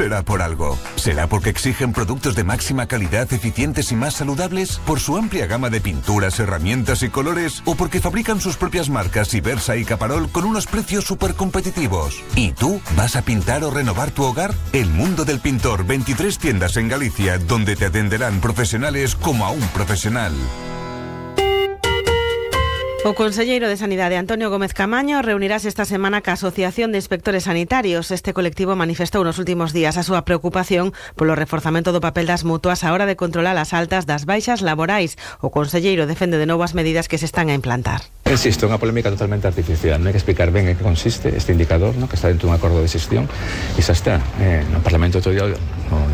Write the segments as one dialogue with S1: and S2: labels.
S1: será por algo. ¿Será porque exigen productos de máxima calidad, eficientes y más saludables? ¿Por su amplia gama de pinturas, herramientas y colores? ¿O porque fabrican sus propias marcas Ibersa y Caparol con unos precios súper competitivos? ¿Y tú? ¿Vas a pintar o renovar tu hogar? El Mundo del Pintor, 23 tiendas en Galicia, donde te atenderán profesionales como a un profesional.
S2: O conselleiro de Sanidade Antonio Gómez Camaño reunirase esta semana ca Asociación de Inspectores Sanitarios. Este colectivo manifestou nos últimos días a súa preocupación polo reforzamento do papel das mutuas á hora de controlar as altas das baixas laborais. O conselleiro defende de novo as medidas que se están a implantar.
S3: Insisto, é unha polémica totalmente artificial. Non hai que explicar ben en que consiste este indicador, ¿no?, que está dentro dun acordo de xestión, e xa está. No Parlamento todo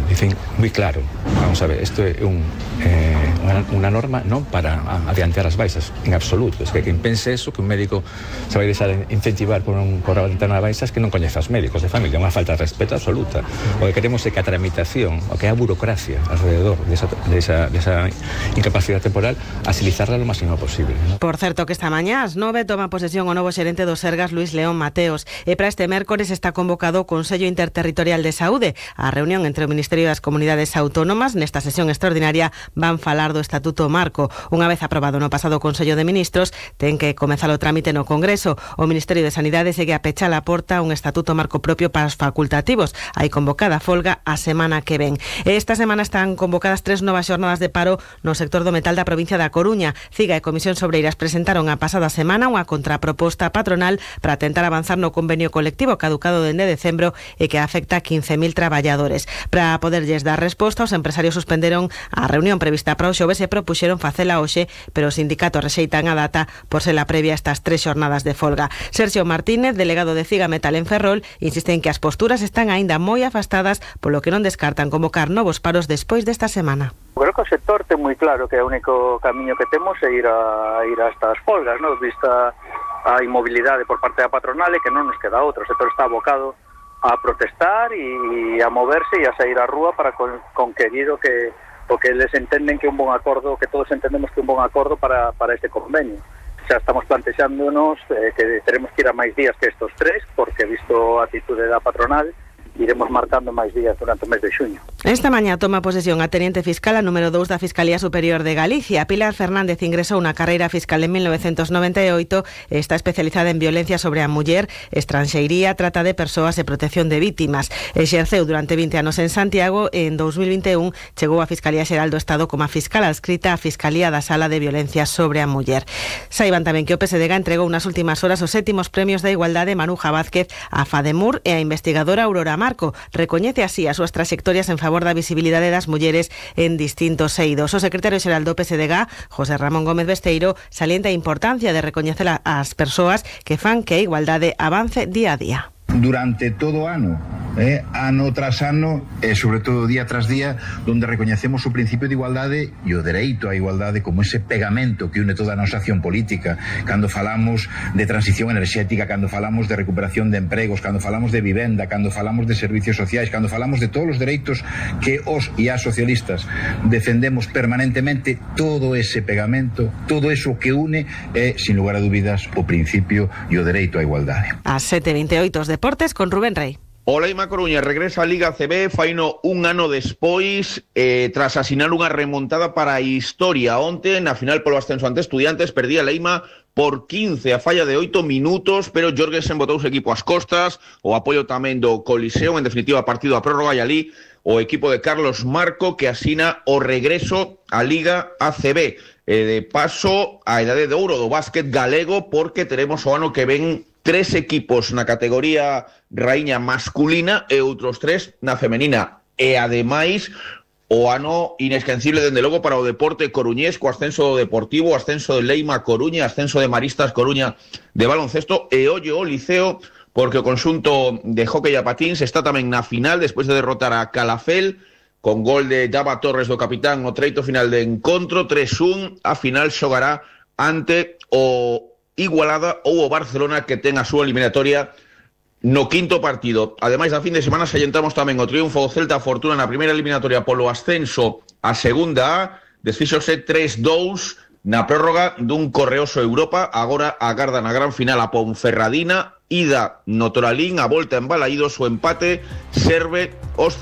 S3: dicen moi claro. Vamos a ver, isto é unha norma non para adiantar as baixas, en absoluto. Es que quen pense eso, que un médico se vai deixar incentivar por adiantar as baixas, que non coñece os médicos de familia, é unha falta de respeto absoluta. O que queremos é que a tramitación, o que é a burocracia alrededor desa incapacidade temporal, agilizarla lo máximo posible, ¿no?
S2: Por certo, que esta mañá ás 9 toma posesión o novo xerente do Sergas, Luis León Mateos, e para este mércores está convocado o Consello Interterritorial de Saúde. A reunión entre o Ministerio das Comunidades Autónomas nesta sesión extraordinaria van falar do Estatuto Marco. Unha vez aprobado no pasado Consello de Ministros, ten que comezar o trámite no Congreso. O Ministerio de Sanidade segue a pechar a porta un Estatuto Marco propio para os facultativos. Hai convocada folga a semana que ven. Esta semana están convocadas 3 novas xornadas de paro no sector do metal da provincia da Coruña. CIGA e Comisións Obreiras presentaron a pasada semana unha contraproposta patronal para tentar avanzar no convenio colectivo caducado dende decembro e que afecta a 15.000 traballadores. Para poderlles dar resposta, os empresarios suspenderon a reunión prevista para o xoves e propuxeron facela hoxe, pero os sindicatos rexeitan a data por ser a previa a estas 3 xornadas de folga. Sergio Martínez, delegado de CIGA Metal en Ferrol, insiste en que as posturas están aínda moi afastadas, polo que non descartan convocar novos paros despois desta semana.
S4: Creo que o sector ten moi claro que o único camiño que temos é ir a estas folgas, ¿no? Vista a inmobilidade por parte da patronal e que non nos queda outro. O sector está abocado a protestar e a moverse e a sair á rúa para conquerir o que eles entenden que é un bon acordo, que todos entendemos que é un bon acordo para este convenio. Xa estamos plantexándonos que teremos que ir a máis días que estos 3, porque visto a atitude da patronal, iremos marcando máis días durante o mes de xuño.
S2: Esta mañá toma posesión a Teniente Fiscal a número 2 da Fiscalía Superior de Galicia. Pilar Fernández ingresou na carreira fiscal en 1998 e está especializada en violencia sobre a muller, estranxeiría, trata de persoas e protección de vítimas. Exerceu durante 20 anos en Santiago e en 2021 chegou á Fiscalía Xeral do Estado como a fiscal adscrita á Fiscalía da Sala de Violencia sobre a Muller. Saiban tamén que o PSDG entregou nas últimas horas os 7º premios da Igualdade Manuja Vázquez a FADEMUR e a investigadora Aurora Marco. Recoñece así as súas traxectorias en favor da visibilidade das mulleres en distintos eidos. O secretario xeral do PSDG, José Ramón Gómez Besteiro, salienta a importancia de recoñecer as persoas que fan que a igualdade avance día a día.
S5: Durante todo o ano, ano tras ano e sobre todo día tras día, donde recoñecemos o principio de igualdade e o dereito á igualdade como ese pegamento que une toda a nosa acción política. Cando falamos de transición enerxética, cando falamos de recuperación de empregos, cando falamos de vivenda, cando falamos de servicios sociais, cando falamos de todos os dereitos que os e as socialistas defendemos permanentemente, todo ese pegamento, todo eso que une é, sin lugar a dúbidas, o principio e o dereito á igualdade.
S2: A 7:28 os deportes con Rubén Rey.
S6: O Leima Coruña regresa á Liga ACB, faino un ano despois, tras asinar unha remontada para a historia. Onte, na final polo ascenso ante Estudiantes, perdía Leima por 15 a falla de 8 minutos, pero Jorgensen botou o equipo ás costas, o apoio tamén do Coliseo, en definitiva partido a prórroga, e ali o equipo de Carlos Marco que asina o regreso á Liga ACB. De paso, a idade de ouro do básquet galego, porque teremos o ano que ven 3 equipos na categoría raíña masculina e outros 3 na femenina. E ademais, o ano inesquecible dende logo para o deporte coruñés, co ascenso do Deportivo, o ascenso de Leima Coruña, ascenso de Maristas Coruña de baloncesto, e ollo o Liceo, porque o conxunto de hóquei a patíns está tamén na final, despois de derrotar a Calafel, con gol de Java Torres do capitán no treito final de encontro, 3-1, a final xogará ante o Igualada ou o Barcelona, que ten a súa eliminatoria no quinto partido. Ademais, da fin de semana sallentamos tamén o triunfo do Celta Fortuna na primeira eliminatoria polo ascenso a segunda A, desfíxose 3-2 na prórroga dun correoso Europa. Agora agarda na gran final a Ponferradina, ida no Toralín, a volta en Balaídos, o empate serve os